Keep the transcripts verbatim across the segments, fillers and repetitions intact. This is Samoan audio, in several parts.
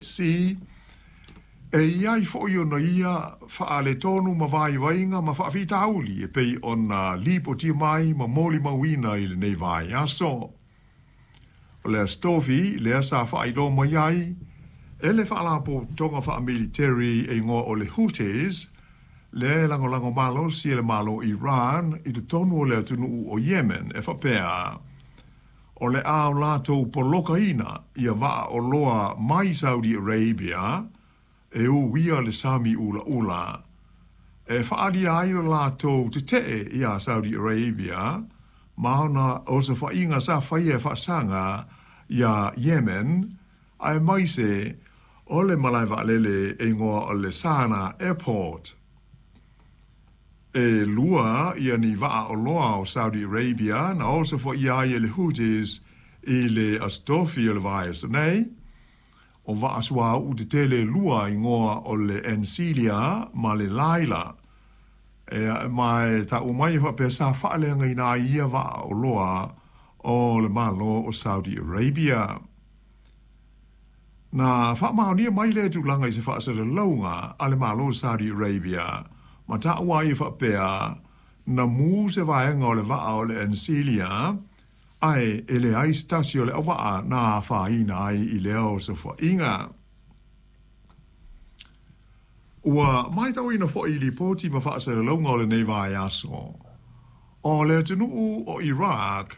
Sea, e i ai foʻi ona ia faaletonu ma vaivaiga ma faafitauli e pei ona lipotia mai ma molimauina i lenei vaiaso. O le Aso Tofi lea sa faailoa mai ai e le faalapotopotoga faamiliteri e igoa o le Houthis, lea e lagolago malosi e le Malo Iran i totonu o le atunuu o Yemen e faapea, o le a o latou polokaina ia vaa oloa mai Saudi Arabia e uia le Sami Ulaula, e faaalia ai lo latou tetee iā Saudi Arabia ma ona osofaiga sa faia e faasaga iā Yemen, aemaise o le malae vaalele e igoa o le Sanaa Airport. E lua ia ni vaa oloa o Saudi Arabia na osofaia ai e le Houthis i le Aso Tofi o le vaiaso nei, o vaa suauu tetele e lua igoa o le Encelia ma le Laila. E ma e taua mai e faapea sa faaleagaina ai ia vaa oloa o le Malo o Saudi Arabia. Na faamaonia mai lea tulaga i se faasalalauga a le Malo o Saudi Arabia, ma taua ai e faapea, na mu se vaega o le vaa o le Encelia, ae e leai se tasi o le auvaa na afaina ai i lea osofaiga. Ua matauina foi i lipoti ma faasalalauga o lenei vaiaso, o le atunuu o Iraq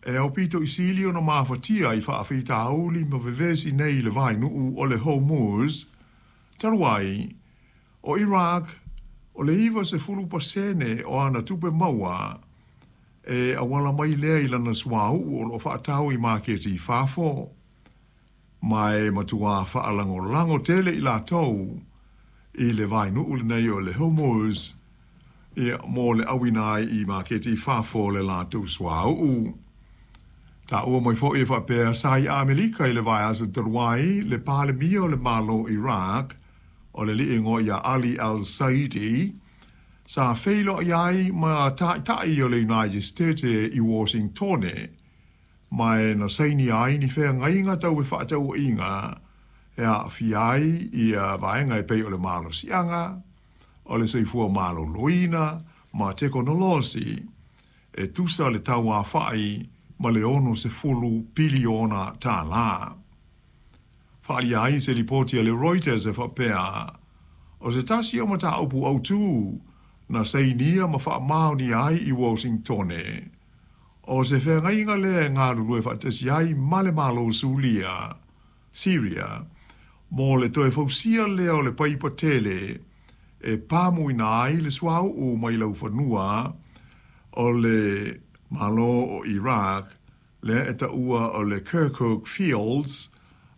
e aupito i sili ona mafatia i faafitauli ma vevesi nei i le vainuu o le Hormuz. Talu ai, o Iraq o le iva sefulu pasene o ana tupe maua e auala mai lea i lana suauu o loo faatau i maketi i fafo, ma e matuā faalagolago tele i latou i le vainuu lenei o le Hormuz ia mo le auina ai i maketi i fafo o le latou suauu. Taua mai foʻi e faapea sa i Amelika i le vaiaso talu ai le Palemia o le Malo Iraq o le alii e igoa ia Ali Al-Saidi, sa feiloai ai ma taitai o le United States i Washingtone, ma e na sainia ai ni feagaiga tau fefaatauaiga e aafia ai ia vaega e pei o le malosiaga, o le soifua maloloina ma tekonolosi, e tusa le tauafaʻi ma le ono sefulu piliona tālā. Faaalia ai se lipoti a le Reuters e faapea, o se tasi o mataupu autū na sainia ma faamaonia ai i Washingtone, o se feagaiga lea e galulue faatasi ai ma le Malo Sulia, Syria, mo le toe fausia lea o le paipa tele e pamuina ai le suauu mai laufanua o le Malo o Iraq, lea e taua o le Kirkuk Fields,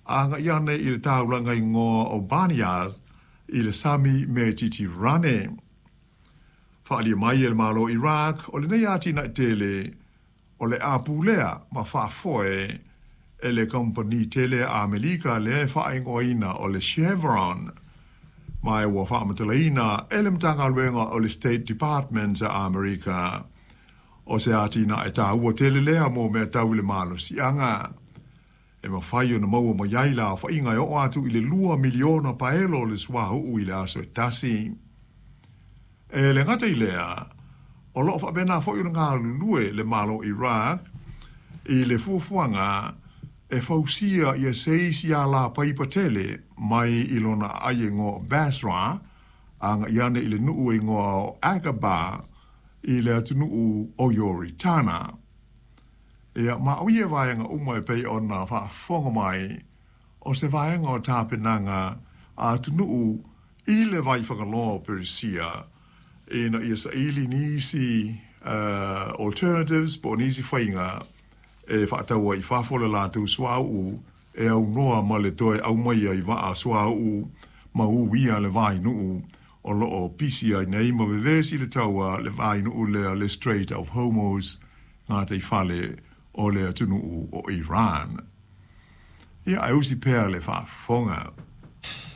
agai ane i le taulaga igoa o Banias i le Sami Metitirane. Faaalia mai e le Malo Iraq, o lenei atinae tele o le a pulea ma faafoe e le kamupani tele a Amelika lea e faaigoaina o le Chevron, ma e ua faamatalaina e le Matagaluega o le State Department a Amerika o se atinae taua tele lea mo mea tau i le malosiaga e mafai ona maua mai ai le aofaiga e oo atu i le lua miliona paelo o le suauu i le aso e tasi. E le gata i lea, o loo faapena foʻi ona galulue le Malo Iraq i le fuafuaga e fausia ia se isi alapaipa tele mai i lona aai e igoa o Basra agai ane i le nuu e igoa o Aqaba i le atunuu o Ioritana. Ia, ma o ia vaega uma e pei ona faafofoga mai, o se vaega o tapenaga a atunuu i le Vaifagaloa o Peresia ina ia saili nisi uh, alternatives po o nisi faiga e faatau ai i fafo le latou suauu e aunoa ma le toe aumaia i vaa suauu ma uia le vainuu o loo pisi ai nei ma vevesi le taua le vainuu lea le Strait of Hormuz, gataifale o le atunuu o Iran. Ia, ae usi pea le faafofoga.